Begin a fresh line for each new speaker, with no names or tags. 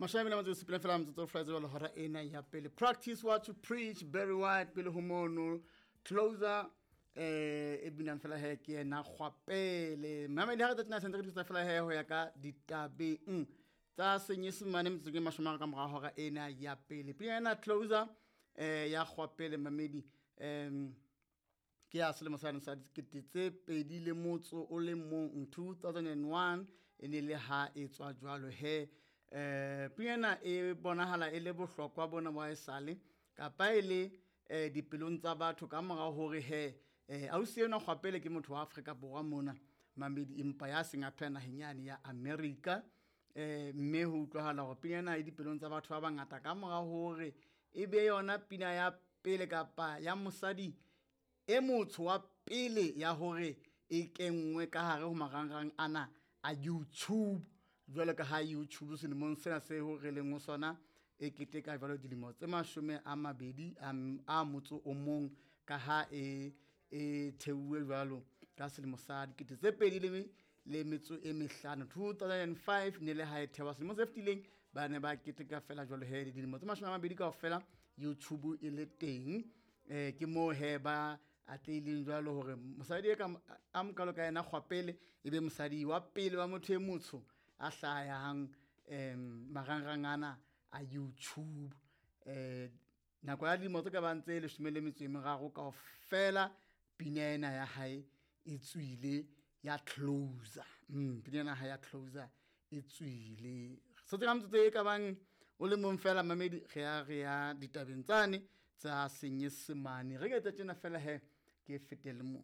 Mashome le motso sepele fela motso fela jwalo hora ena ya pele. Practice what you preach, Barry White pele ho mono. Closer e binang fela he ke yena Kgwapele. Mamedi ha re tsena sentse re thusa fela he ho ya ka ditabeng tsa Senyesemane metsotso e mashome a ka mora hora ena ya pele. Pina ena Closer ya Kgwapele mamedi ke ya selemo sane sa 2001, 2001 e ne le ha e tswa jwalo he. Pina ena e bonahala e le bohlokwa bona ba esale kapa e le dipelong tsa batho ka mora hore he ausi enwa Kgwapele ke motho wa Afrika Borwa mona mamedi, empa ya seng a phela naheng yane ya America. Mme ho utlwahala hore pina ena e dipelong tsa batho ba bangata ka mora hore e be yona pina ya pele kapa ya mosadi e motsho wa pele ya hore e kenngwe ka hare ho marangrang ana a YouTube. Jwalo ka ha YouTube selemong sena se ho re leng ho sona e keteka jwalo dilemo tse 20 a motso o mong ka ha e theuwe jwalo ka selemo sa 2005, 2005 ne le ha e thewa. Selemo se fetileng ba ne ba keteka fela jwalo he dilemo tse 20 kaofela YouTube e le teng. Ke moo he ba atlehileng jwalo hore mosadi e ka a mokalo ka yena Kgwapele e be mosadi wa pele wa motho e motsho a hlahang marangrang ana a YouTube. Nako ya dilemo tse ka bang tse 13 kaofela pina ena ya hae e tswile ya Closer. Pina ena ya Closer e tswile. Sotse ka metsotso e ka bang o le mong fela mamedi re ya ditabeng tsane tsa Senyesemane. Re ke tsa tjena fela he ke fetele moo.